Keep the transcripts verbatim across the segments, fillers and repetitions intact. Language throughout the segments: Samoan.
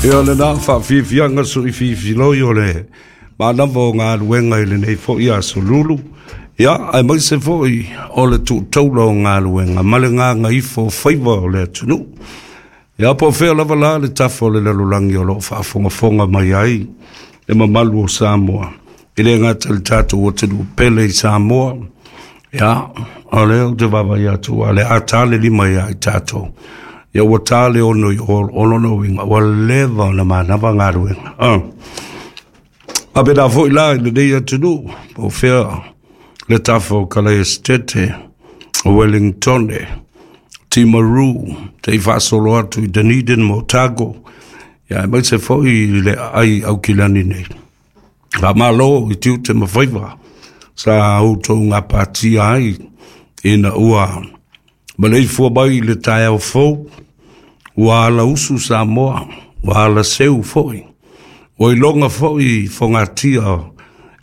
Ia lena faafiafiaga soifiifiloi o le manava o galuega i lenei fo'i aso Lulu, ia aemaise fo'i o le tuutaula o galuega ma le gagaifo o faiva o le atunuu. Ia po o fea lava la le tafa o le lalolagi o loo faafogafoga mai ai le mamalu o Samoa, e le gata i le tatou atunuu pele i Samoa, ia o lea ou te vaavaai atu ua le a ta le lima ia i tatou, ia ua ta le ono i o, o lona uiga ua leva ona manava galuega. Ah. Faapena foi la i lenei atunuu, po o fea le tafa o Kalaesetete, o Wellingtone, Timaru, te faasolo atu i Dunedin ma Otago, ia aemaise foi i le aai Aukilani nei. Faamalo i tiute ma faiva sa outou gapatia ai ina ua maleifua mai i le taeao fou, ua alausu Samoa, ua alaseu foi, ua iloga foi fogatia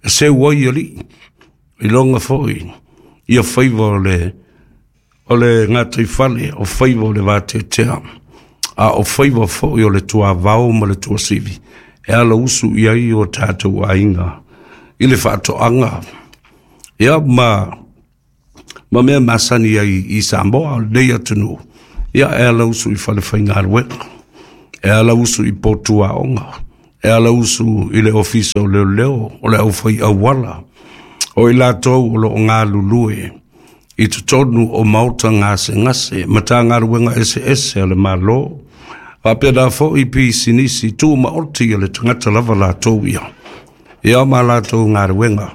e seu ai alii, iloga foi ia faiva o le o le gataifale, o faiva o le vateatea, a o faiva foi o le tuavao ma le tuasivi e alausu i ai o tatou aiga i le faatoaga, ia ma ma mea masani ai i Samoa o lenei atunuu. Ia e alausu i falefaigaluega, e alausu i potu aoga, e alausu i le ofisa o leoleo, o le aufai auala, o i latou o loo galulue i totonu o maota gasegase, matagaluega eseese a le Malo, faapena foi pisinisi tumaoti a le tagata lava latou ia, ia ma latou galuega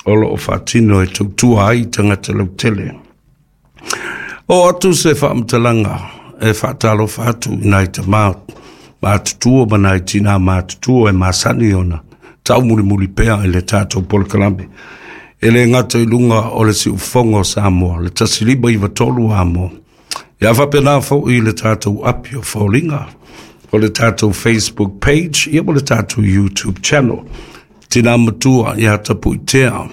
o loo faatino e tautua ai tagata lautele. O atu se faamatalaga e faatalofa atu i nai tamā matutua ma nai tinā matutua e masani ona taumulimuli pea i le tatou polokalame. E le gata i luga o le siufofoga o Samoa, le tasi lima iva tolu amo. Ia faapena foi i le tatou api o Foliga, o le tatou Facebook page, ia ma le tatou YouTube channel. Tinā matua ia Tapuitea,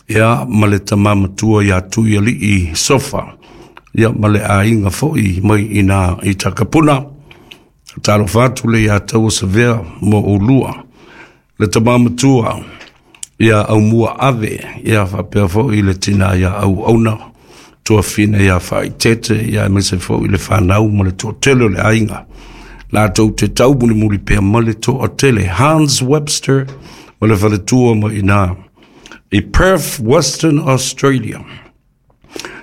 ia ma le tamā matua ia Tuialii Sofa, ia ma le aiga foi mai ina i Takapuna. Talofa atu le ia taua savea mo ulua. Le tamā matua ia Aumua Ave, ia faapea foi le tina ia Auauna, tuafine ia Faaitete, ia aemaise foi le fanau ma le toatele o le aiga. Latou te taumulimuli pea ma le toatele Hans Webster ma le faletua ma ina i Perth, Western Australia.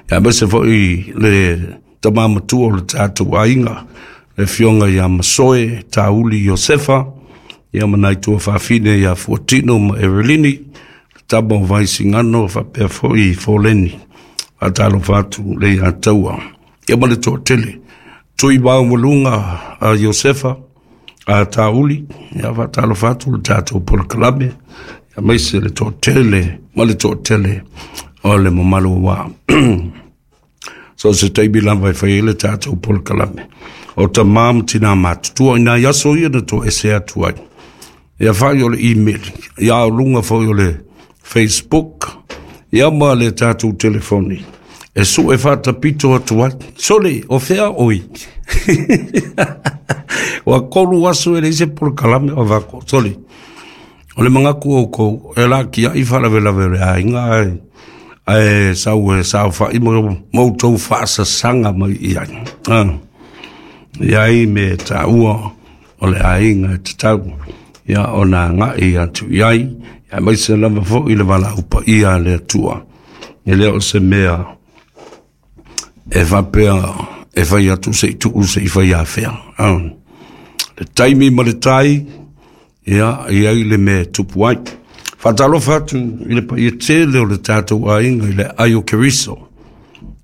Ia aemaise foi le tamā matua o le tatou aiga, le afioga ia Masoe Tauli Iosefa, ia ma nai tuafafine ia Fuatino ma Evelini, le tama o Vaisigano faapea foi Foleni. Faatalofa atu le ia taua. Ia ma le toatele. Tui maualuga a Iosefa, a Tauli, ia faatalofa atu le tatou polokalame, aemaise le toatele ma le toatele o le mamalu ua. So se taimi lava e fai ai le tatou polokalame. O tamā ma tinā matutua i nai aso ia na toese atu ai. Ia fai o le email, ia o luga foi o le Facebook, ia ma le tatou telefoni. E sue faatapito atu ai. Sole, o fea oi. Ua kolu aso e leai se polokalame o vako. Sole, o le manatu o kou, e la kia i faalavelave o le aiga ai. Ae sau e saofa'i ma ma outou faasasaga mai i ai. Ah. Ia ai me taua o le aiga e tatau ia ona agai atu i ai, aemaise lava foi le valaau paia a le Atua. E le o se mea e faapea e fai atu se i tuu se i fai afea. Ah. Le taimi ma le tai, ia i ai le mea e tupu ai. Faatalofa atu i le paia tele o le tatou aiga i le ai o Keriso,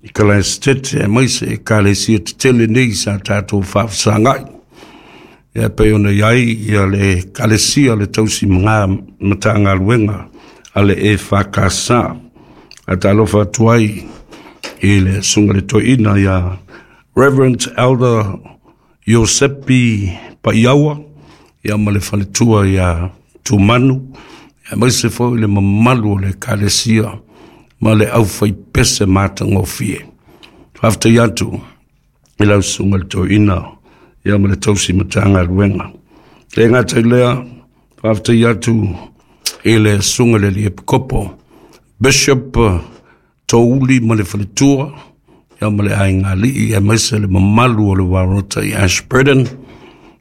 i Kalaesetete, aemaise ekalesia tetele nei sa tatou faafesagai. Ia pei ona i ai ia le ekalesia le tausi mga matagaluega a le E F K S. Faatalofa atu ai i le susuga i le toeaina ia Reverend Elder Iosepi Paiaua, ia ma le faletua ia Tumanu, aemaise foi le mamalu o le ekalesia ma le aufaipese matagofie. Faafetai atu i lau susuga i le toeaina Ia ma le tausi matagaluega. Le gata i lea, faafetai atu i le susuga i le alii Epikopo, Bishop Touli ma le faletua, ia ma le aiga alii, aemaise le mamalu o le Warota i Ashburton.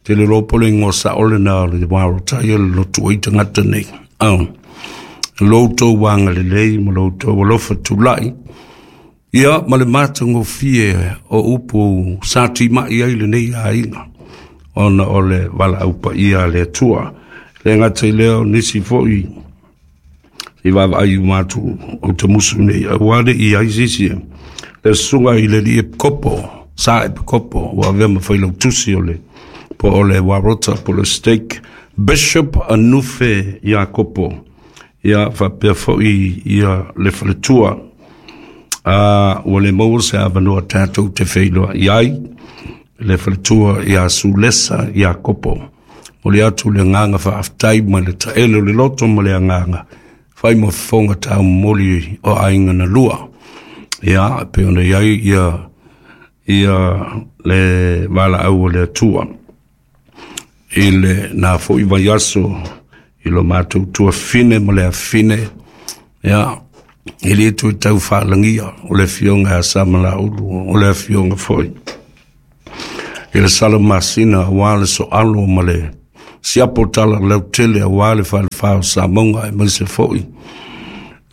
Te le lopo le ingoa sao lena o le Warota ia le lotu ai tagata nei. Oh. Lo outou agalelei ma lo outou alofa tulai, ia ma le matagofie o upu sa timai ai lenei aiga, ona o le valaau paia a le Atua. Le gata i lea, o nisi foi i vaavaai uma atu o te musu nei, aua le i ai sisi le susuga i le alii Epikopo, sa Epikopo, ua avea ma failautusi o le po o le Warota po le Stake, Bishop Anufe Iakopo, ia faapea foi ia le faletua. A ua le maua se avanoa tatou te feiloai ai le faletua ia Sulesa Iakopo. Momoli atu le agaga faafetai ma le taele o le loto ma le agaga fai ma fofoga taumomoli o aiga na lua. Ia, e pei ona i ai ia ia le valaau o le Atua i le na foi vaiaso i lo matou tuafine ma le afine, ia, e le toe tau faalagia o le afioga ia Samalaulu, o le afioga foi i le Salamasina, aua le soalo ma le siapo tala lautele aua le falefa o Samoga, aemaise foi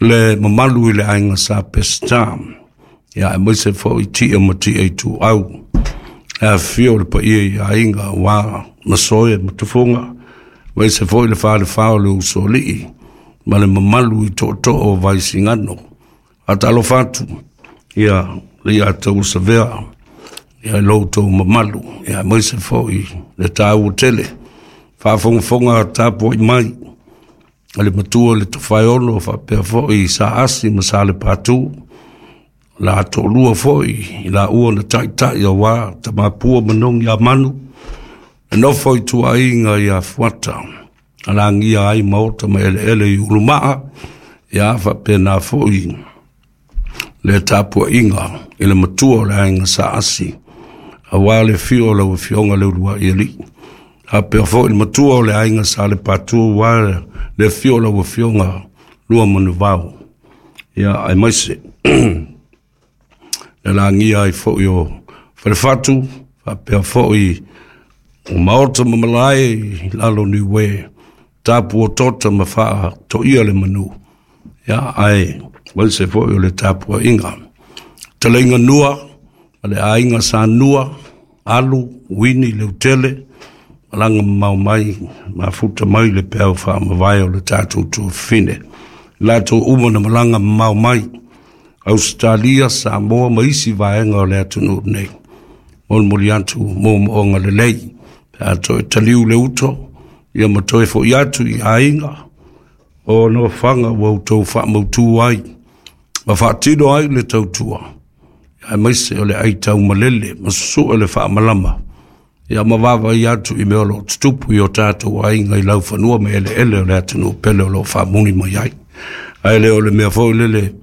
le mamalu i le aiga sa Peseta, ia aemaise foi tia ma tia i tuau, le afifio o le paia i aiga aua Masoe ma Tufuga, aemaise foi le falefa o le Usoalii ma le mamalu i tootoo o Vaisigano. Faatalofa atu ia le ia tausavea ia lo outou mamalu, ia aemaise foi le taua tele faafogafoga tapuai mai a le matua le Tofaeono, faapea foi sa Asi ma sa Lepatu, la toalua foi i laua na taitai aua Tamapua ma Nogi a Manu, e nofo i tuaiga ia Fuata, alagia ai maota ma eleele i Ulumaa, ia faapena foi le tapuaiga i le matua o le aiga sa Asi, aua le afio o lau afioga le Uluai Alii, faapea foi le matua o le aiga sa Lepatu, aua le afio o lau afioga Lua Manuvao, ia aemaise le lagia ai foi o Falefatu, faapea foi o maota ma malae i lalo Niue, tapu o tota ma faatoia le manu, ia ae aemaise foi o le tapuaiga taleiga nua ma le aiga sa Nua, Alu, Wini, Leutele, malaga mamao mai, mafuta mai le peau faamavae o le tatou tuafine, latou uma na malaga mamao mai Australia, Samoa ma isi vaega o le atunuu nei. Molimoli atu moomooga lelei pe a toe taliu le uto, ia ma toe fo'i atu i aiga o nofoaga ua outou faamautū ai ma faatino ai le tautua, aemaise o le aitaumalele ma susu'e le faamalama, ia ma vaavaai atu i mea o loo tutupu i o tatou aiga i laufanua ma eleele o le atunuu pele o loo faamuli mai ai. Ae le o le mea foi lele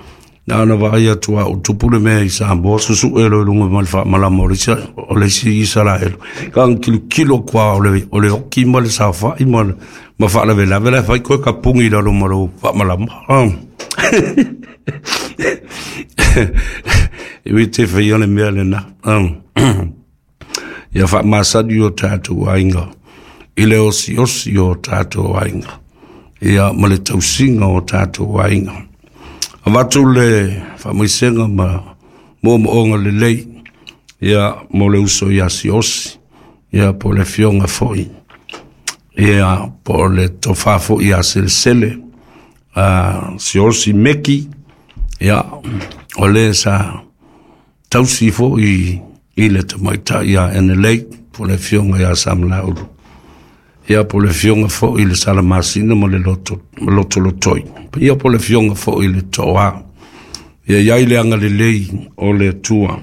na ona vaai atu a o tupu le mea i Samoa, susu'e lo i luga ma le faamalama o le isi o le isi Isaraelu, ka kilokilo kwa o le o le oki ma le saofa'i ma ma faalavelave la fai koe kapugi i lalo ma lou faamalama. E ui te faia le mea lena ia faamasani o tatou aiga i le osiosi o tatou aiga, ia ma le tausiga o tatou aiga. Avatu le faamaisega ma moomooga lelei ia mo le uso ia Siosi, ia po le afioga foi ia po le tofa foi ia Selesele a Siosi Meki, ia o le sa tausi foi i le tamaitai ia Enelei, po le afioga ia Samalaulu, ia po le afioga foi i le Salamasina ma le loto ma lotolotoi, ia po le afioga foi i le Toa. Ia iai le agalelei o le Atua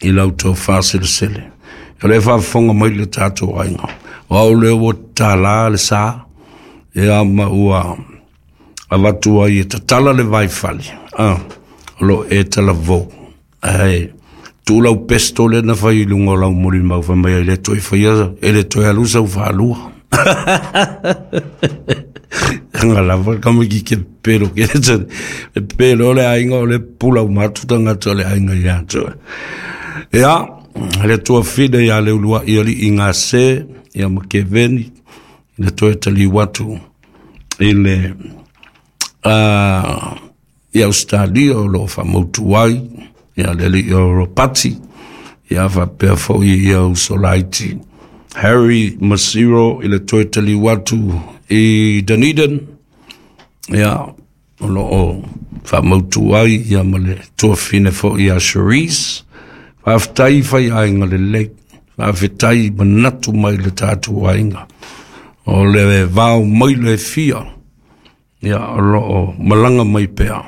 i lau tofa selesele. O le faafofoga mai le tatou aiga, o au lea ua tatala le sa, ia ma ua avatu ai e tatala le vaifale, a o loo e talavou ae Tulau pesto le na fai lunga lau moli mau fa mai le toi faia e le toi alu sau faalua. Nga lava kama ki ke pelo ke e pelo le aiga o le pula o matu tagata o le aiga ia te. Ia le tua fide ia le ulua ia li inga se ia ma keveni le toe taliu atu i le uh, ia Australia o lo faamautu ai ia le alii o Ropati ia faapea foi ia usolaiti Harry Masiro i le toe taliu atu i Dunedin ia o lo o faamautu ai ia ma le tuafine foi ia Cherise. Faafetai fai aiga lelei, faafetai manatu mai le tatou aiga o le vao mai le fia ia o lo o malaga mai pea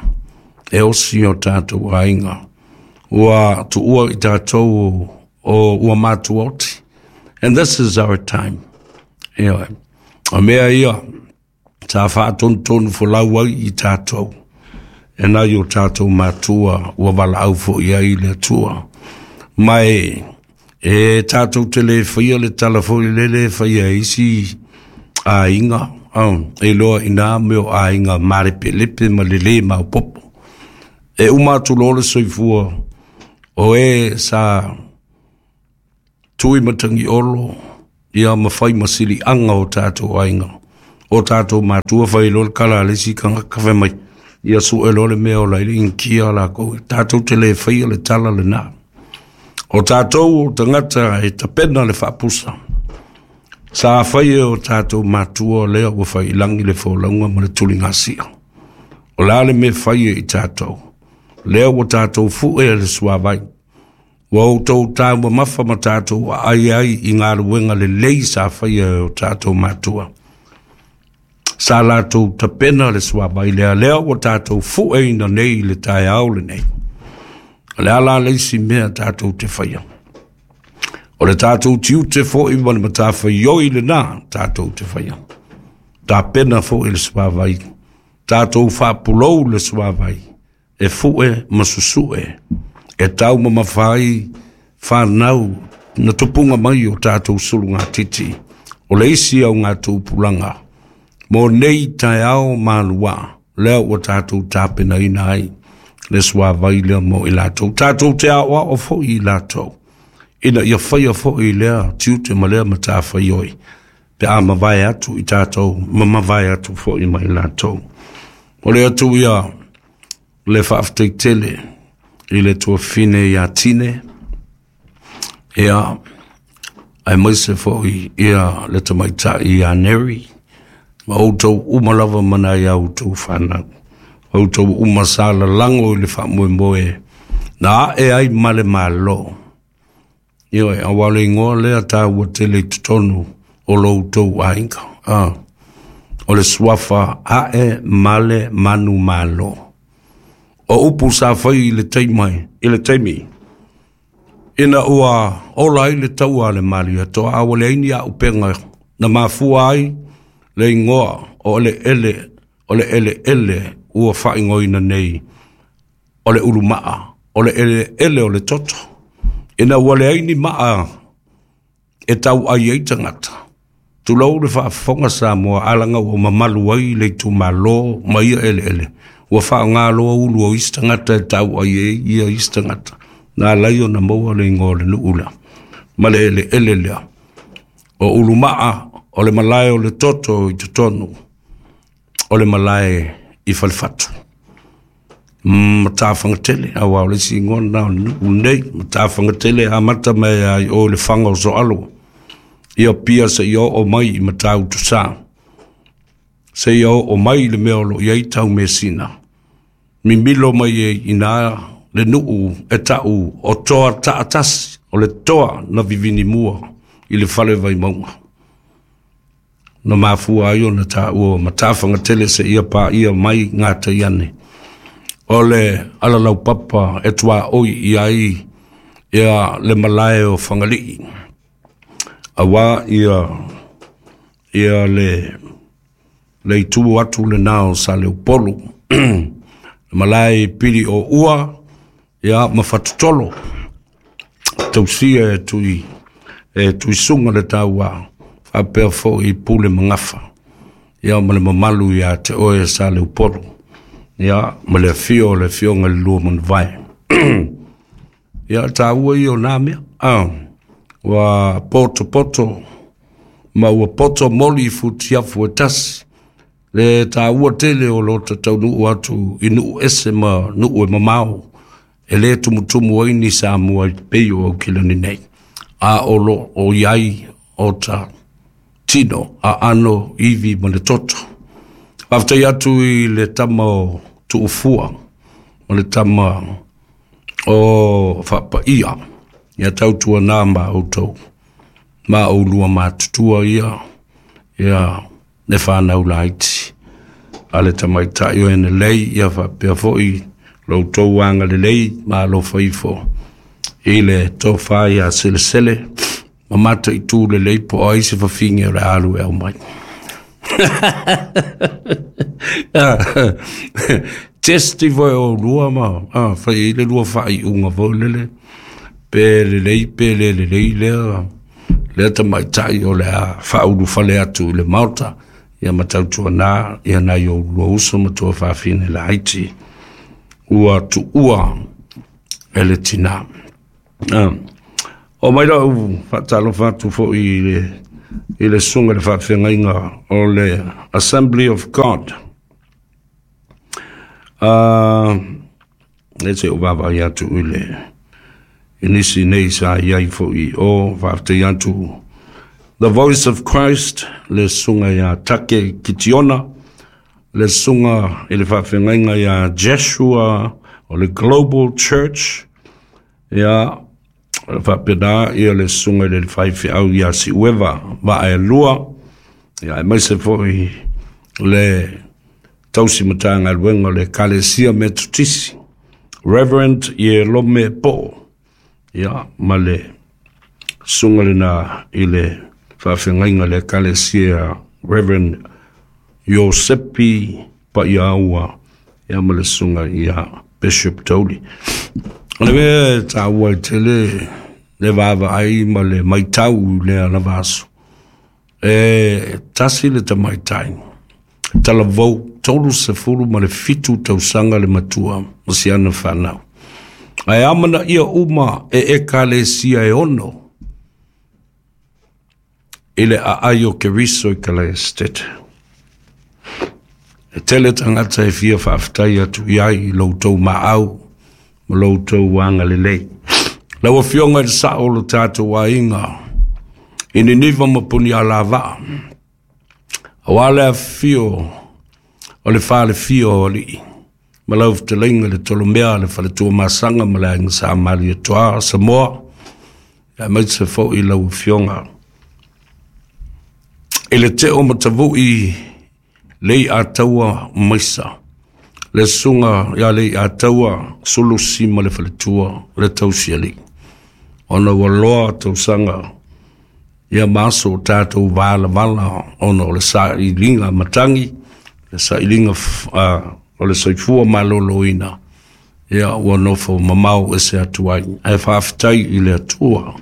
e osi o tatou aiga ua tuua i tatou o ua matuoti. And this is our time. Ia o mea ia sa faatonutonu folau ai i tatou e nai o tatou matua ua valaau foi ai le Atua mai e tatou te le faia le tala foi lele faia isi aiga e loa ina me o aiga malepelepe ma lele maopopo e uma atu loa le soifua o e sa tui matagi olo ia ma fai ma siliaga o tatou aiga o tatou matua fai loa le kala a le isi tagata fai mai ia sue loa le mea o la i le inikia lakou tatou te le faia le tala lena. O tatou o tagata e tapena le faapusa sa fai e o tatou matua lea ua failagi le folauga ma le tuligasia. O la le mea fai e i tatou lea ua tatou fue le suavai ua outou taumamafa ma tatou aai ai i galuega lelei sa faia e o tatou matua sa latou tapena le suavai lea lea ua tatou fueina nei i le taeao lenei. O le ala le isi mea tatou te faia o le tatou tiute foi ma le matafaioi lena tatou te faia tapena foi le suavai tatou faapulou le suavai e fue ma susue e taumamafa ai fanau na tupuga mai o tatou sulugatiti o le isi augatupulaga mo nei taeao maluā lea ua tatou tapenaina ai le suavai lea mo i latou. Tatou te aoao foi i latou ina ia faia foi lea tiute ma lea matafaioi pe a mavae atu i tatou ma mavae atu foi ma i latou. O le atu ia le faafetai tele i le tuafine ia Tine ia aemaise foi ia le tamaitai ia Neri ma outou uma lava ma nai a outou fanau outou uma sa lalago i le faamoemoe na ae ai ma le Malo. Ioe, aua le igoa lea taua tele i totonu o lo outou aiga. Ah, o le suafa ae male manu malo. O upu sa fai i le taimi, i le taimi ina ua ola ai le taua a le Malietoa a ua leai ni auupega na mafua ai le igoa o le ele o le eleele ua faaigoaina nei o le ulumaa o le eleele o le toto ina ua leai ni maa e tau ai ai tagata. Tulou le faafofoga Samoa alaga ua mamalu ai le itumalo ma ia eleele ua faaaoga loa ulu o isi tagata e tau ai ai ia isi tagata na alai ona maua le igoa o le nuu lea ma le eleele lea o ulumaa o le malae o le toto i totonu o le malae i Falefatu Matafagatele aua o le isi igoa lena o le nuu lenei Matafagatele amata mai ai o le faga o Soalo ia pia seia oo mai i Matautusa seia oo mai le mea o lo o i ai Taumesina mimilo mai ai ina le nuu e tau o toa taatasi o le toa na vivini mua i le fale Vaimauga na mafua ai ona taua o Matafagatele seia paia mai Gataiane o le alalaupapa e tuaoi i ai ia le malae o Fagalii aua ia ia le le itu atu lena o Saleupolu le malae pili o ua ia ma Fatutolo. Tausia e tui e tuisunga le taua faapea fo'i pule magafa ia ma le mamalu ia te oe sa le upolu ia ma le afio o le afioga i le lua manavae ia taua ia o nā mea ah, ua potopoto ma ua poto moli i futiafu e tasi le taua tele o lo tataunuu atu i nuu ese ma nuu e mamao e lē tumutumu ai ni Samua i pei o Aukilani nei a o lo o iai o ta tino aano ivi ma le toto. Faafetai atu i le tama o Tuufua ma le tama o Faapaia ia tautuanā ma outou ma oulua matutua ia ia le fanau laiti a le tamaitai o Enelei ia faapea fo'i lo outou agalelei ma alofa ifo i le tofa ia Selesele ma mataitu lelei po o ai se fafine o le alu e aumai. Testi foi o lua ma ah, fai i le lua faaiuga foi lele pe lelei pe le lelei lea lea tamaitai o le a faaulufale atu i le maota ia ma tautuanā ia nai o lua uso ma tua fafine laiti ua tuua e le tinā. Ah. O mai lau faatalofa atu fo'i i le i le susuga i le faafeagaiga o le Assembly of God. Uh, e se o vaavaai atu i le i nisi nei sa iai fo'i o faafetai atu The Voice of Christ le susuga ia Take Kitiona le susuga i le faafeagaiga ia Joshua o le Global Church ia faapena ia le susuga i le faifeau ia Siueva Vaaelua ia aemaise fo'i le tausi matagaluega o le Ekalesia Metotisi Reverend Ierome Po'o ia ma le susuga lena i le faafeagaiga le Ekalesia Reverend Iosepi Paiaua ia ma le susuga ia Bishop Toli. O le mea e taua ai tele le vaavaai ma le maitau i lea lava aso e tasi le tamaitai talavou tolu sefulu ma le fitu tausaga le matua ma siana fanau ae amanaia uma e ekalesia e ono i le aai o Keriso i Kalaestete. E tele tagata e fia faafetai atu i ai i lo outou maau ma lo outou agalelei. Lau afioga i le sao o lo tatou aiga i Niniva ma Punialavaa, auā le afifio o le falefia o alii ma lau fetalaiga i le Tolomea le Faletuamasaga ma le Aiga Sa Malietoa Samoa, aemaise fo'i lau afioga i le Teo Matavu'i lei Ataua Maisa, le susuga ia lei Ataua Sulusi ma le faletua le tausialii ona ua loa tausaga ia ma aso o tatou valavala ona o le sailiga matagi, le sailiga uh, o le soifua malōlōina ia ua nofo mamao ese atu ai. Ae faafetai i le Atua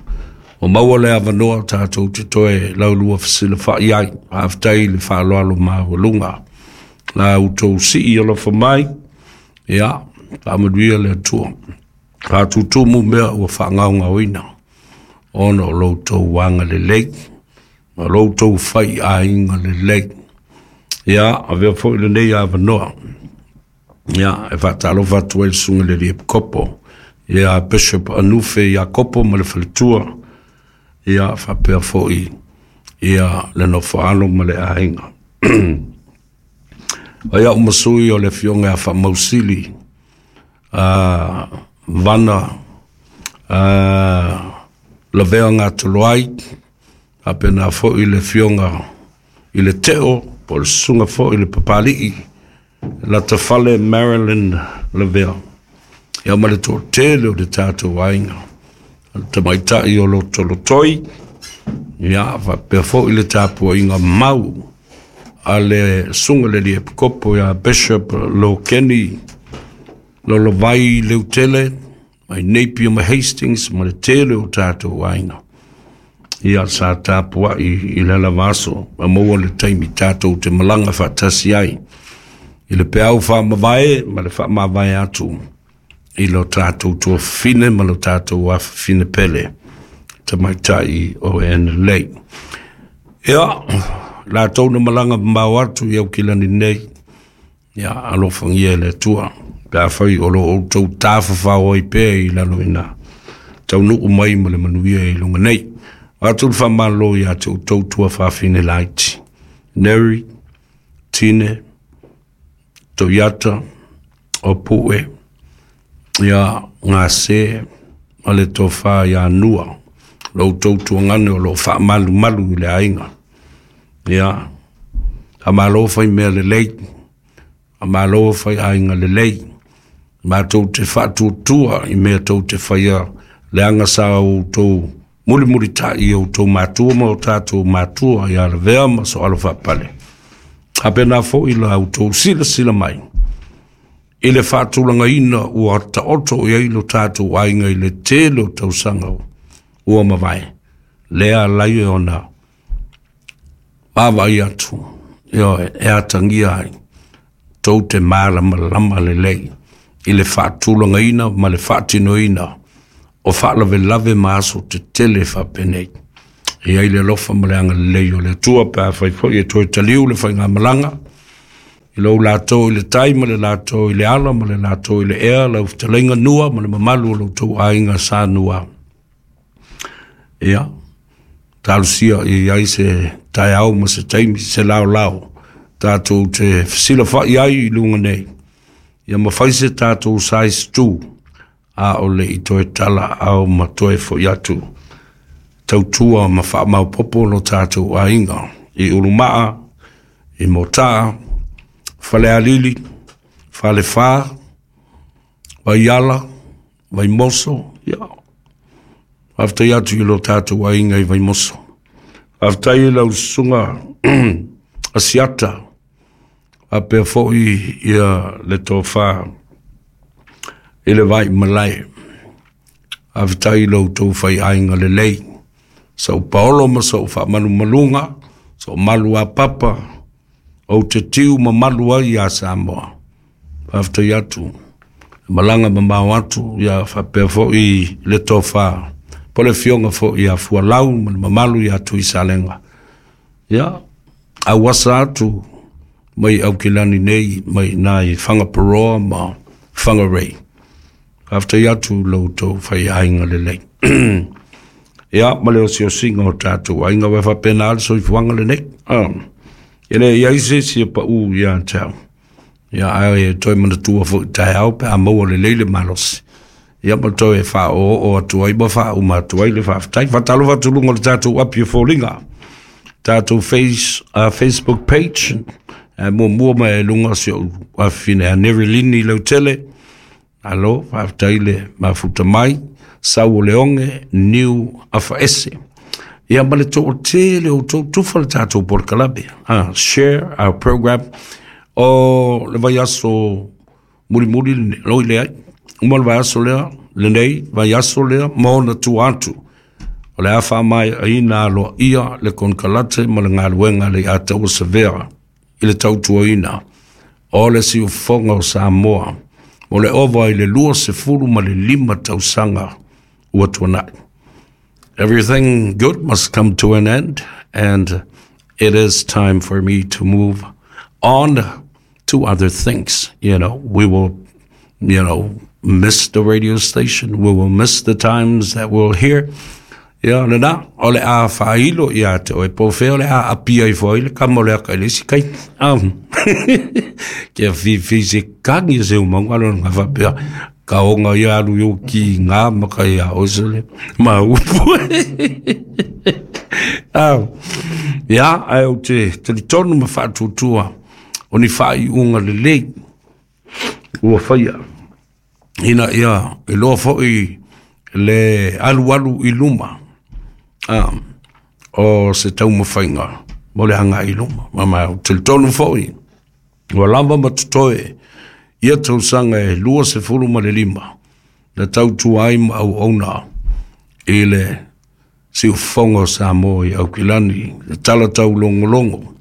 ua maua le avanoa tatou te toe laulua fesilafa'i ai. Faafetai i le faaaloalo maualuga la outou sii alofa mai ia faamanuia le Atua faatutumu mea ua faagaogaoina ona o lo outou agalelei ma lo outou faiaiga lelei. Ia avea fo'i lenei avanoa ia e faatalofa atu ai le susuga i le alii Epikopo ia Bishop Anufe Iakopo ma le faletua ia faapea fo'i ia le nofoalo ma le aiga. O ia uma sui o le afioga ia Faamausili uh, Vana uh, Lavea Gatoloai, faapena fo'i le afioga i le Teo po o le susuga fo'i le Papali'i Latafale Marilyn Lavea ia ma le toatele o le tatou aiga o le tamaitai o Lotolotoi ia faapea fo'i le tapuaiga mau a le susuga i le alii Epikopo ia Bishop Lokeni Lolovai Leutele Mai Napier ma Hastings ma le tele o tātou aiga. Ia sa tapuai i le lava aso ma maua le taimi tātou te malaga faatasi ai i le peau faamavae ma le faamavae atu i lo tātou tuafafine ma lo tātou afafine pele tamaitai o Anna-Lei. Ia, latou na malaga mamao atu i Aukilani nei, ia alofagia e le Atua pe afai o lo outou tafafao ai pea i lalo ina taunuu mai ma le manuia i luga nei. Atu le faamalo ia te outou tuafafine laiti, Neri, Tine, Toiata, Opue, ia Gase ma le tofa ia Nua, lo outou tuagane o lo o faamalumalu i le aiga. Ia, faamalo fai mea lelei, faamalo fai aiga lelei, matou te faatuatua i mea tou te faia leaga sa outou mulimulitai i outou matua ma o tatou matua ia Lavea ma Soalo Faapale. Faapena foi la outou silasila mai i le faatulagaina ua taoto i ai lo tatou aiga i le tele o tausaga ua mavae. Lea alai e ona vaavaai atu, ioe, e atagia ai tou te malamalama lelei i le faatulagaina ma le faatinoina o faalavelave ma aso tetele faapenei. E ai le alofa ma le agalelei o le Atua pe afai foi e toe taliu le faigamalaga i lou latou i le tai ma le latou i le ala ma le latou i le ea, lau fetalaiga Nua ma le mamalu o lo outou aiga sa Nua. Ia, talosia i ai se taeao ma se taimi, se laolao tatou te fesilafai ai i luga nei. Ia mafai se tatou size two a o le i toe tala ao ma toe foi atu tautua ma faamaopoopo lo tatou aiga i Ulumaa, i Motaa, Falealili, Falefa, Vaiala, Vaimoso. Ia, faafetai atu i lo tatou aiga i Vaimoso. Faafetai i lau susuga Asiata, faapea foi ia le tofa i le vai malae. Faafetai i lo outou faiaiga lelei, sau paolo ma sau faamalumaluga, sau malu a papa, ou te tiu mamalu ai ia Samoa. Faafetai atu, malaga mamao atu, ia faapea foi le tofa po le afioga foi ia Fualau ma le mamalu ia Tuisalega. Ia, auasa atu mai Aukilani nei, mai nai Whangaparoa ma Whangarei. Faafetai atu lo outou faiaiga lelei. Ia, ma le osiosiga o tatou aiga ua faapena le soifuaga lenei. Ah, e le i ai se isi e pau ia te au. Ia, ae toe manatua foi taeao pe a maua lelei le malosi. Ia, ma toe faaoo atu ai ma faauma atu ai le faafetai. Faatalofa atu luga o le tatou api o foliga, tatou face, uh, Facebook page. E muamua mai e luga si ou afafine a Nerilini Lautele. Alo, faafetai le mafuta mai, sau o le oge, niu afaese. Ia ma le toatele o outou tufa le tatou polokalame. Ah, share our program. O le vaiaso mulimuli loi le ai. Uma le vaiaso lea, lenei, vaiaso lea, ma ona tua atu. O le a faamaeaina aloaia le konekarate ma le galuega le ia taua severa i le tautuaina o le siufofoga o Samoa mo le ova i le lua sefulu ma le lima tausaga ua tuanai. Everything good must come to an end, and it is time for me to move on to other things. You know, we will, you know, miss the radio station. We will miss the times that we'll hear. Ia, lena, o le a faailo ia te oe po fea o le a apia i foi le kama o le aka i le isi kai. Um, kia whiwhi se kangi se umanga alo nga whapea. Ka onga ia alu yo ki ngā maka ia osele. Ma upu. Um, ia, ai o te talitonu ma whaatuatua o ni whaaiunga lelei ua whaia. Ina ia, e loa foi le alualu i luma. Um, o se taumafaiga mo le agai i luma. Ma ma o talitonu foi ua lava ma totoe ia tausaga e lua sefulu ma le lima. Le tautua ai ma auauna i le siufofoga o Samoa i Aukilani, le tala taulogologo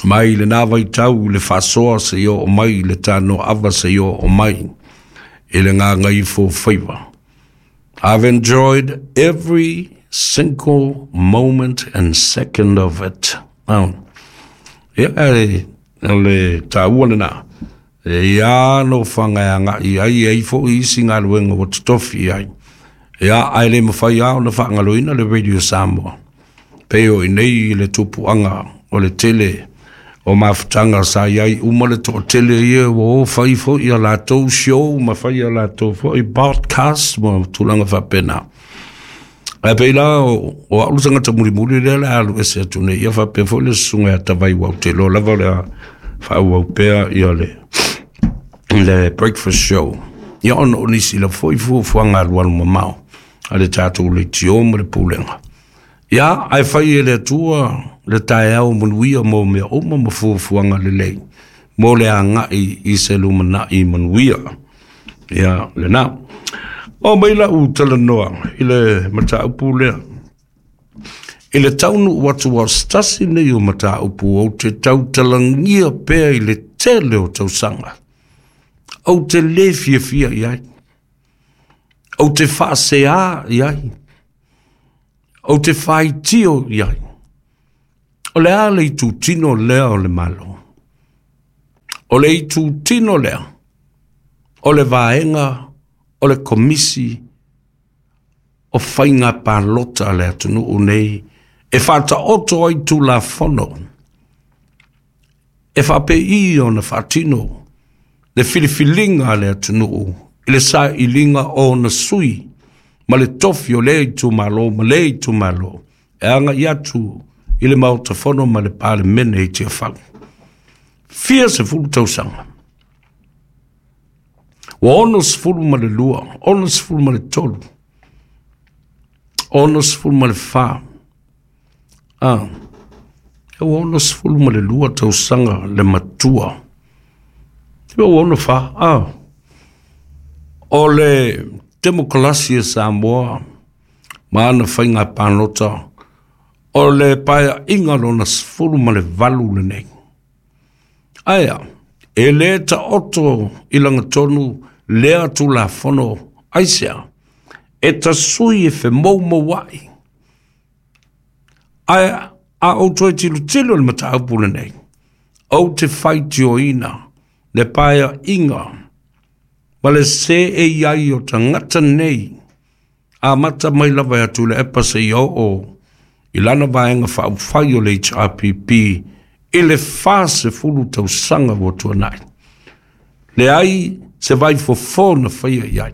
mai lena vaitau i le faasoa seia oo mai i le tanoaava seia oo mai i le gagaifo faiva. I've enjoyed every single moment and second of it. Oh. Ia, o le taua lena. E ia no whangai ai ai fo isi galuega ua totofi ai. Ia, ae le mafai lava ona faagaloina le Radio Samoa. Pei o i nei le tupuaga o le tele o mafutaga sa iai uma le toatele ia ua o fai foi ia latou show ma fai ia latou foi podcast ma tulaga faapena. Ae pei la o, o au le tagata mulimuli lea le alu ese atu nei ia faapea foi le susuga ia Tavai ua ou te iloa lava o le a faaauau pea ia le le breakfast show. Ia ona o nisi lava foi fuafuaga alualu mamao a le tatou leitio ma le pulega. Ia, ae fai e le Atua le taeao manuia mo mea uma ma fuafuaga lelei mo le agai i se lumanai manuia. Ia, lena. O mai lau talanoa i le mataupu lea. I le taunuu atu o se tasi nei o mataupu ou te tautalagia pea i le tele o tausaga. Ou te le fiafia i ai. Ou te faaseā i ai. Ou te faitio i ai. O le a le itutino lea o le Malo? O le itutino lea, o le vaega o le Komisi o Faiga Palota a le atunuu nei e faataoto ai Tulafono e faapei ona faatino le filifiliga a le atunuu i le sailiga o ona sui ma le tofi o lea itumalo ma lea itumalo e agai atu i le Maota Fono ma le Palemene i Tiafau. Fia sefulu tausaga. Ua ono sefulu ma le lua, ono sefulu ma le tolu, ono sefulu ma le fa. Ah, ua ono sefulu ma le lua tausaga le matua. Ua ono fa, ah. O le temokalasi e Samoa ma ana faiga palota o le paeaiga lona sefulu ma le valu lenei. Ae a, e le taoto i lagatonu lea Tulafono aisea, e tasui e femoumouai. Ae a ou toe tilotilo i le mataupu lenei, ou te faitioina le paeaiga ma le seei ai o tagata nei amata mai lava ia Tuilaepa seia oo i lana vaega faaupufai o le H R P P i le fasefulu tausaga ua tuanai. Leai se vaifofo na faia i ai.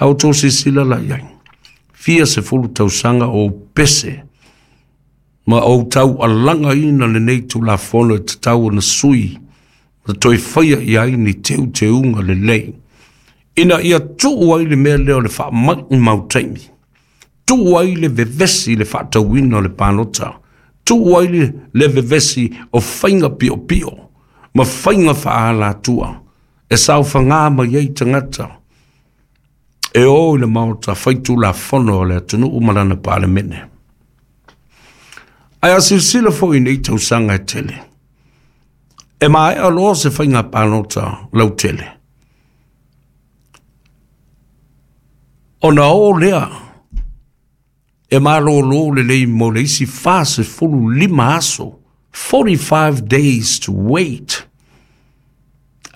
A outou silasila la i ai. Fia sefulu tausaga o pese ma ou taualagaina lenei Tulafono e tatau ona sui ma toe faia i ai ni teuteuga lelei. Ina ia tuu ai le mea lea o le faamaumau taimi. Tuu ai le vevesi le faatauina o le palota. Tuu ai le, le vevesi o faiga piopio ma faiga faaalatua e saofagā mai ai tagata e o i le Maota faitulafono o le atunuu ma lana Palemene. Ae a silasila foi nei tausaga e tele. E maea loa se faiga palota lautele. Ona o lea e malōlō lelei mo le isi fasefulu lima aso, forty-five days to wait.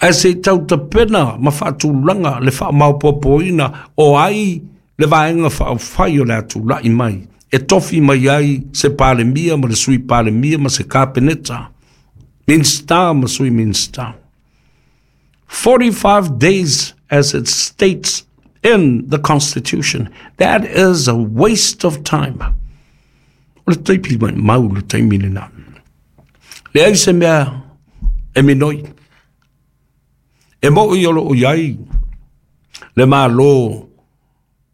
Ae se i tautapena ma faatulaga le faamaopoopoina o ai le vaega faaupufai o le a tulai mai e tofi mai ai se Palemia ma le Sui Palemia ma se Kapeneta, Minisita ma Sui Minisita. forty-five days, as it states in the Constitution. That is a waste of time. O le taimi maumau le taimi lena. Leai se mea e minoi. E moʻi o loo i ai le Malo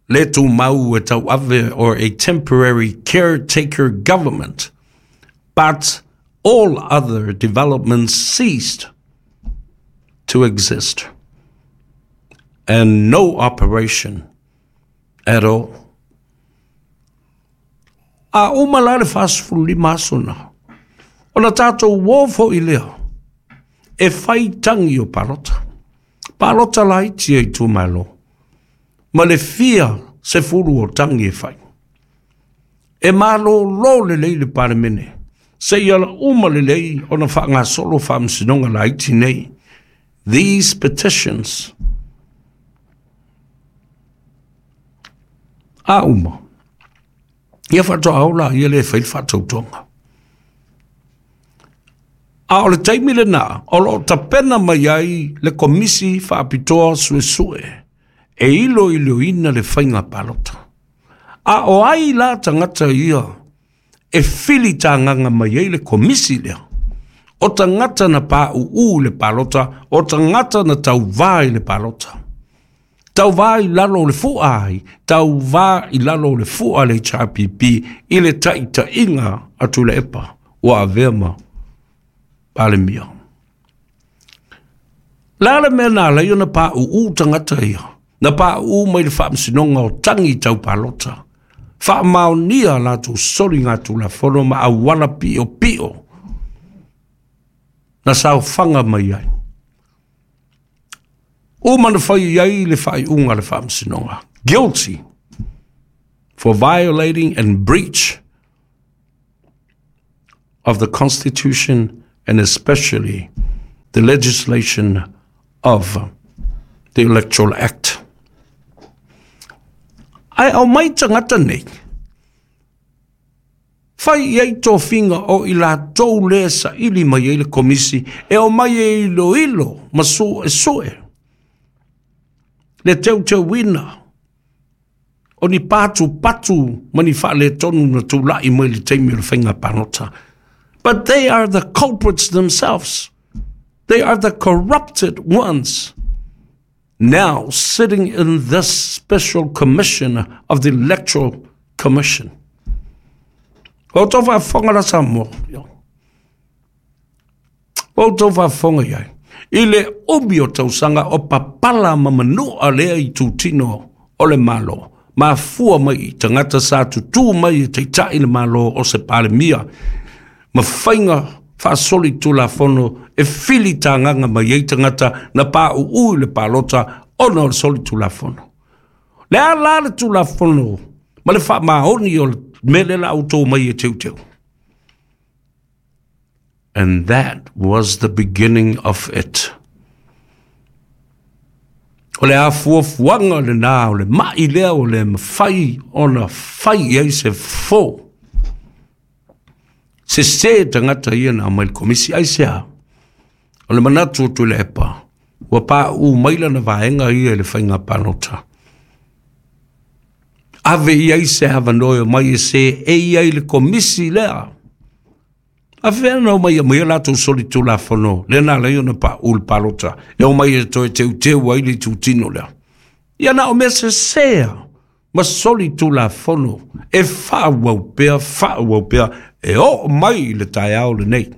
le tumau e tauave or a temporary caretaker government. But all other developments ceased to exist. and no operation at all. A uma la le fasefululima aso na, ona tatou uō foʻi lea e fai tagi o palota, palota laiti e itumālō, ma le fia sefulu o tagi e fai. E malōlō lelei le Palemene seia ala uma lelei ona faagasolo faamasinoga laiti nei. These petitions a uma ia faatoa ola ia le fai le faatautoga. A o le taimi lenā o loo tapena mai ai le Komisi Faapitoa Suesue e iloiloina le faiga palota. A o ai la tagata ia e fili tagaga mai ai le komisi lea? O tagata na paʻuʻū le palota, o tagata na tauvā i le palota. Tauvā i lalo o le fua ai, tauvā i lalo o le fua le H R P P i le taʻitaʻiga a Tuilaepa ua avea ma Palemia. La le mea na alai ona paʻuʻū tagata ia, na paʻuʻū mai le faamasinoga o tagi tau palota. Faamaonia latou soliga tulafono ma auala piʻopiʻo na saofaga mai ai. Uma na fai ai le faaiuga le faamasinoga. Guilty for violating and breach of the Constitution and especially the legislation of the Electoral Act. Ae aumai tagata nei fai i ai tofiga o i latou lea saili mai ai le komisi e aumai e iloilo ma suesue le teuteuina o ni patupatu ma ni faaletonu na tulaʻi mai le taimi o le faiga palota. But they are the culprits themselves. They are the corrupted ones now sitting in this special commission of the Electoral Commission. O tau faafofoga la Samoa. O tau faafofoga iai. I le umi o tausaga o papala ma manua lea i tutino o le malo. Mafua mai i tagata sa tutū mai e taitaʻi le malo o se Palemia. Ma faiga faasoli tulafono e fili tagaga mai ai tagata na paʻuʻū i le palota ona o le soli tulafono. Le a la le tulafono ma le faamaoni o le mele la outou mai e teuteu. And that was the beginning of it. O le afuafuaga lenā o le maʻi lea o le mafai ona fai ai se fofō. Sesē tagata ia na aumai le komisi ai sea. O le manatu o Tuilaepa ua paʻuʻū mai lana vaega ia i le faiga palota. Ave i ai se avanoe o mai e se e i ai le komisi lea. A fea na o mai mai o latou soli tulafono lea na alai ona paʻu le palota e o mai e toe teuteu ai le itutino lea. Ia na o mea sesea ma soli tulafono e faaauau pea, faaauau pea e oo mai i le taeao lenei.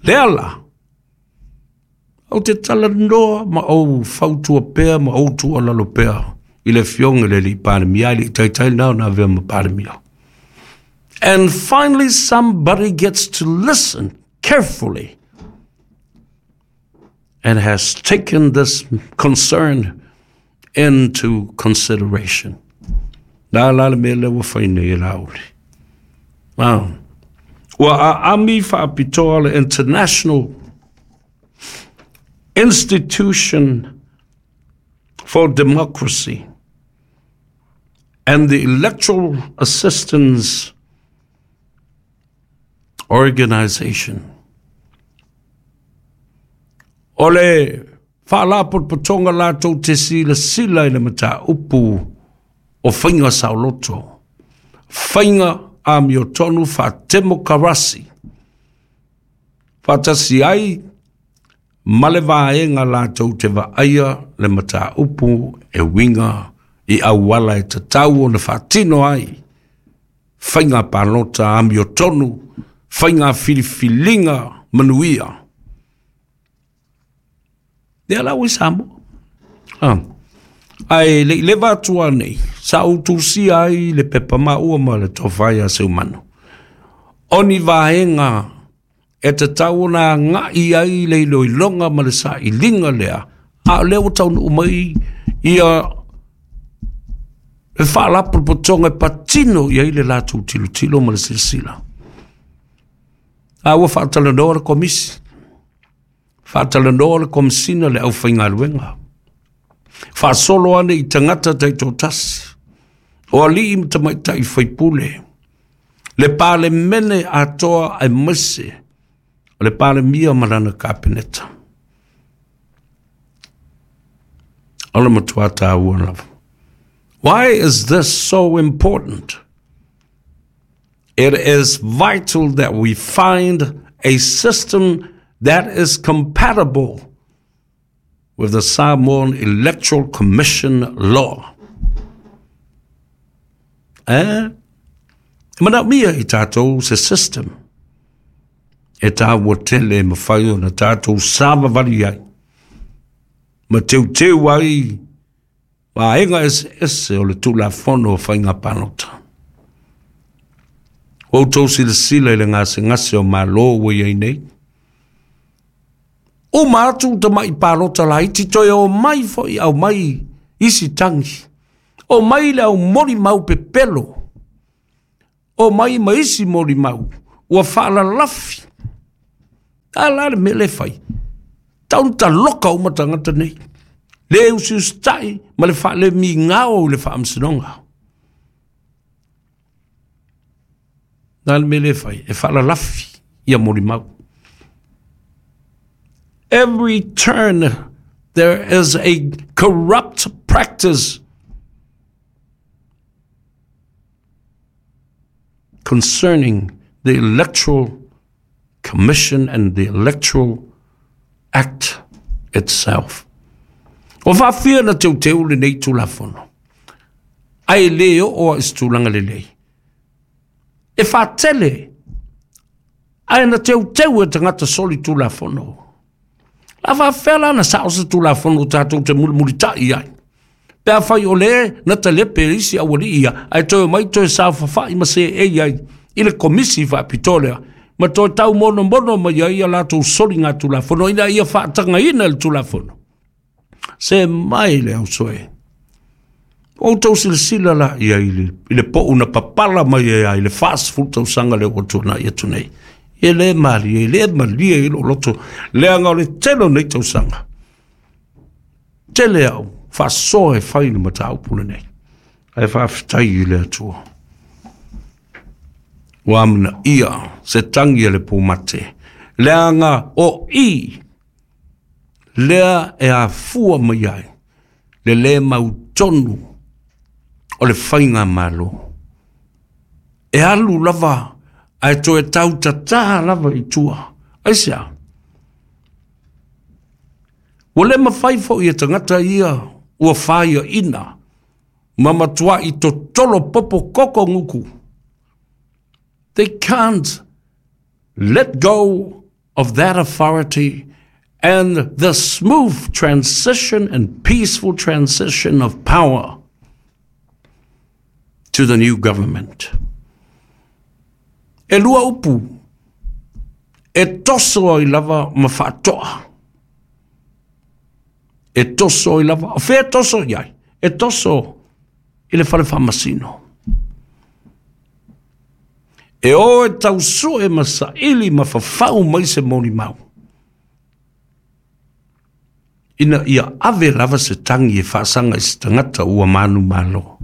Lea la, ou te talanoa ma ou fautua pea ma ou tuualalo pea i le afioga i le alii Palemia i le taitai lenā ona avea ma Palemia. And finally somebody gets to listen carefully and has taken this concern into consideration. La la le mea lea ua fai nei e Laauli. Ah. Ua aami faapitoa le International Institution for Democracy and the Electoral Assistance Organization. O le faalapotopotoga latou te silasila i le mataupu o faiga saoloto, faiga amiotonu faatemokarasi, faatasi ai ma le vaega latou te vaaia le mataupu e uiga i auala e tatau ona faatino ai faiga palota amiotonu, faiga filifiliga manuia. Lea la ua i Samoa. Ah. Ae le i leva atu nei, sa ou tusia ai le pepa maua ma le tofa ia Seumanu. O ni vaega e tatau ona agai ai le iloiloga ma le sailiga lea, a o lea ua taunuu mai ia le faalapotopotoga e patino i ai le latou tilotilo ma le silasila. A ua faatalanoa le komisi, faatalanoa le komisina le aufaigaluega, faasolo ane i tagata taitoatasi, o alii ma tamaitai faipule, le palemene atoa aemaise o le palemia ma lana kapeneta. O le matua taua lava. Why is this so important? It is vital that we find a system that is compatible with the Samoan Electoral Commission law. Eh? E manaomia i tatou se system e taua tele e mafai ona tatou savavali ai ma teuteu ai vaega eseese o le Tulafono o Faiga Palota. Ua outou silasila i le gasegase o Malo ua i ai nei. Uma atu tamai palota laiti toe o mai foi au mai isi tangi. O mai le au molimau pepelo. O mai ma isi molimau. Ua faalalafi. A la le mea le fai. Tau na taloka uma tagata nei. Le usiusitai ma le faalemigao i le faamasinoga. Na le mea le fai. E faalalafi ia molimau. Every turn there is a corrupt practice concerning the Electoral Commission and the Electoral Act itself. O faafia na teuteu lenei Tulafono. Ae le oo i se tulaga lelei. E faatele, ae na teuteu e tagata soli Tulafono. La faafea la na sao se Tulafono o tatou te mulimulitai ai. Pe a fai o le na talepe isi aualii ia, ae toe mai toe saofafai ma seei ai i le komisi faapitoa lea, ma toe taumonomono mai ai ia latou soliga Tulafono, ina ia faatagaina le Tulafono. Se mai le ausoe. O outou silasila la ia i le, i le pou na papala mai ai i le fasefulu tausaga lea ua tuanai atu nei. E le malie, e le malie i lou loto, leaga o le tele o nei tausaga. Tele au, faasoa e fai le mataupu lenei. Ae faafetai i le Atua. Ua amanaia se tagi a le pumate. Leaga o i, lea e afua mai ai, le le mautonu o le faiga malo. E alu lava, ae toe tautatā lava i tua. Aisea? Ua le mafai foi e tagata ia ua faiaina ma matuai totolo popo koko guku. They can't let go of that authority and the smooth transition and peaceful transition of power to the new government. E lua upu, e toso ai lava ma faatoa. E toso ai lava, o fea toso i ai? E toso i le fale faamasino. E o e tausue ma saili ma fafau mai se molimau. Ina ia ave lava se tangi e faasaga i se tagata ua manumalo.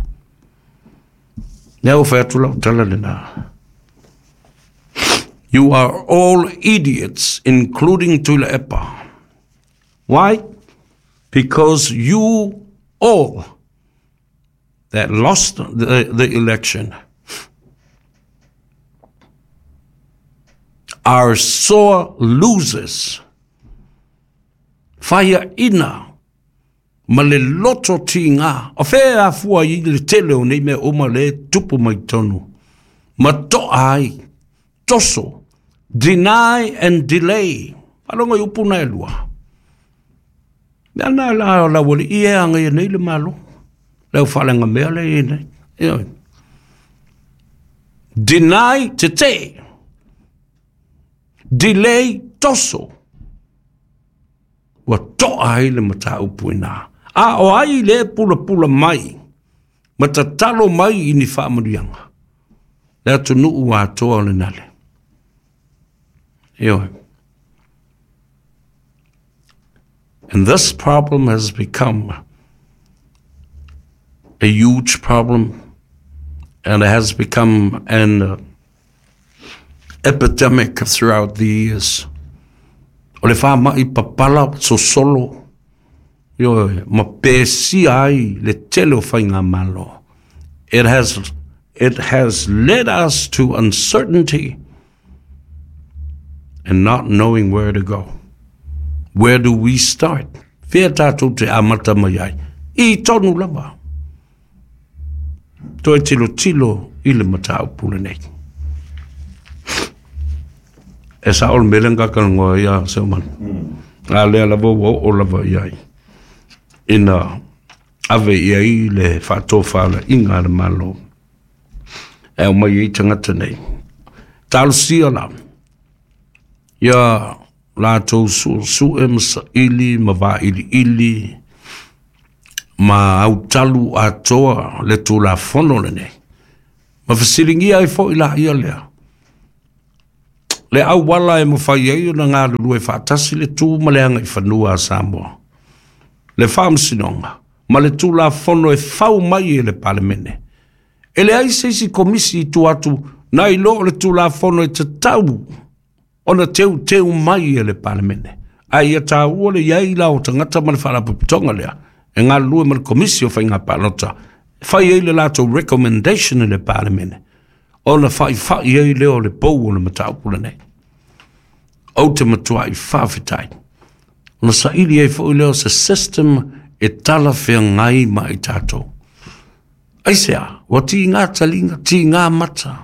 Lea ua fai atu lau tala lena. You are all idiots, including Tuilaepa. Why? Because you all that lost the, the election are sore losers. Faiaina ma le loto tiga. O fea afua i le tele o nei mea uma le tupu mai tonu. Ma toa ai, toso, deny and delay. Faalogo i upu na e lua. Mea na la la wali i e anga ia nei le malo. Leo whalenga mea le i nei. Ioe. Deny te te. Delay toso. Ua toa ai le mataupu ina. A o ai le pula pula mai. Matatalo mai i ni whaamanuianga. Le atunuu atoa o le nale. Ioe. And this problem has become a huge problem, and it has become an uh, epidemic throughout the years. O le whaamai papala sosolo, ioe, ma pesia ai le tele o whainga malo. It has, it has led us to uncertainty and not knowing where to go. Where do we start? Whia tātou te amata mai ai. I tonu lava. Toi tilo tilo i le mataupu lenei. E sa ol melenga kalangoa ia se man. A lea lava ua o lava iai. Ina ave ia i le whaatōwha la inga le malo. E o mai i tangata nei. Talusia la. Ia lātou su su e masa ili, ma vā ili ili, ma autalu atoa le tūla fono le nei. Ma whasilingia ai fo i la ia lea. Le au wala e mawhai ai o na ngā lulue whaatasi le tū ma le anga i whanua a Samoa. Le whaamsinonga, ma le tūla fono e whau mai e le palemene. E le ai seisi komisi i tu atu, na i lo le tūla fono e te tau, ona teu teu mai e le palemene. Ai ia tā ua le iai la o tangata ma le whalapuputonga lea. E ngā lue ma le komisi o whainga palota. Whai ei le lātou recommendation e le palemene. Ona whai whai ei leo le pou o le mataupula nei. O te matua i whawhitai. Ona sa ili ei fo leo se system e tala whia ngai mai tātou. Ai sea, wa ti ngā talinga, ti ngā mata.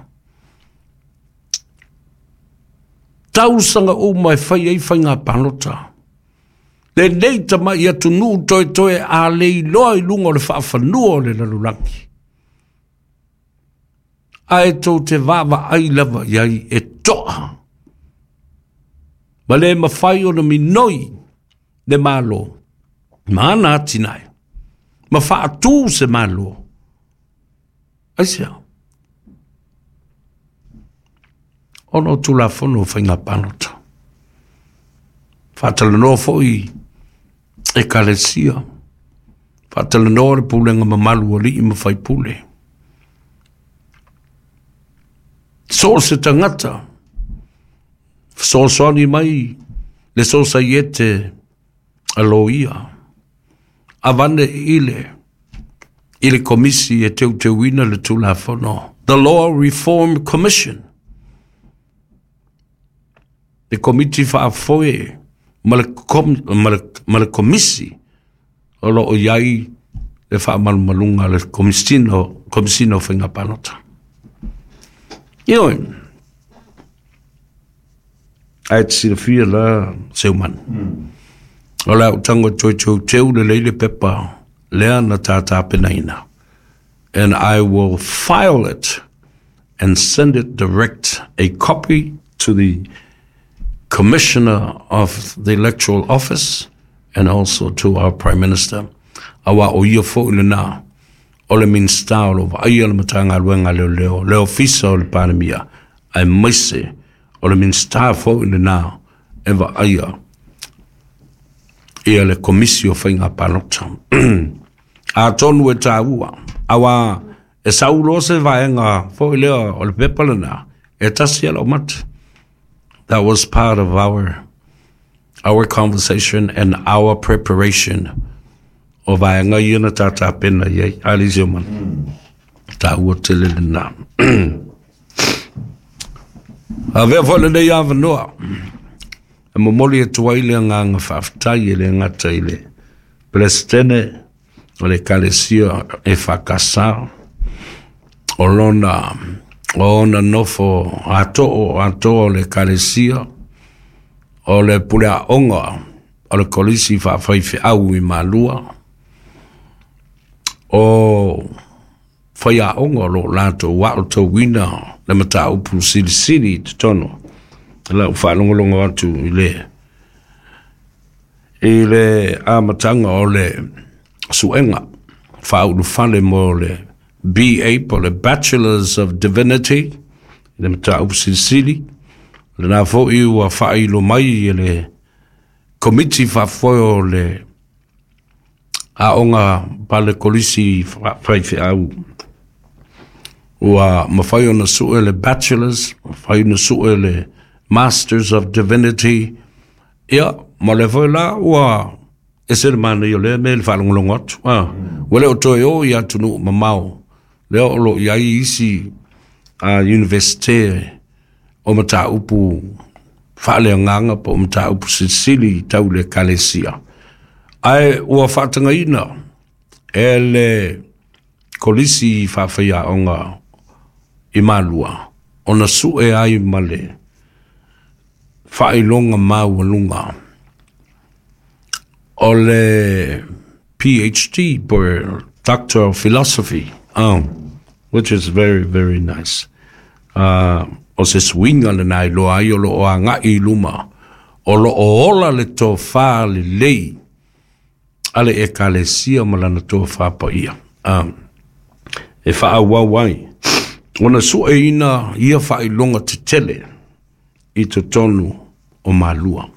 Tausanga o mai whai ei whai ngā palota. Le nei tama i atu nuu toi toi a le iloa i lunga o le whaawhanua o le lalulangi. A e tō te wawa ai lava iai e toa. Ma le mawhai o na minoi le malo. Ma ana atinai. Ma whaatū se malo. Ai sea. Ono tūla fono whainga palota. Whaatalanoa foi e kalesia. Whaatalanoa le pūlenga mamalu o lii ma whaipule. So se tangata. Sosoani mai le sosaiete a loia. Avane ile i le komisi e teuteuina le tūlafono. The Law Reform Commission. Le komiti whaafoe ma le, kom, ma le, ma le komisi o lo o iai le whaamalumalunga le komisino, komisino whainga palota. Ioe, ai te silafia la seumanu. Mm. O la utango toi tau teu le leile pepa lea na tātāpenaina. And I will file it and send it direct a copy to the Commissioner of the Electoral Office and also to our Prime Minister. Awa o ia fo i lena o le minista o lo vaai o le matanga luenga leo leo, le ofisa o le palemia, ai maise o le minista fo i lena e vaaia ia le komisi o whainga palota. A tonu e tāua, awa e saulo se vaenga fo i leo o le pepa lena, e tasi ala o mata. That was part of our our conversation and our preparation o vaenga ia na tātāpena iai, alisio man. Tā ua tele lena. A vea fo le nei awanoa. E momoli e tuai le nganga whaaftai e le ngata i le Presidente o le kalesia e whakasa o lona o ona nofo ato'o atoa o le kalesia o le pule a'oga o le kolisi faafaifeau i Malua o faiaoga o loo latou aotauina le mataupu silisili i totonu lau faalogologo atu i le i le amataga o le suega faaulufale mo le B A po le Bachelors of Divinity i le mataupu silisili lena foʻi ua faailo mai e le komiti faafoe o le aoga pale kolisi faifeau ua mafai ona sue le Bachelors, mafai ona sue le Masters of Divinity. Ia, ma le foi la ua ese le manaia o lea mea i le faalogologo atu. Ah, ua le o toe o i atunuu mamao lea o loo i ai isi a universite o mataupu faaleagaga po o mataupu silisili tau le ekalesia. Ae ua faatagaina e le kolisi faafaiaoga i Malua ona sue ai ma le faailoga maualuga o le P H D po Doctor of Philosophy, um, which is very, very nice. Uh, o se suiga lenā iloa ai o loo agaʻi i luma o loo ola le tofā lelei a le ekalesia ma lana tofā paia. Um, e faaauau ai ona sueina ia faailoga tetele i totonu o Malua.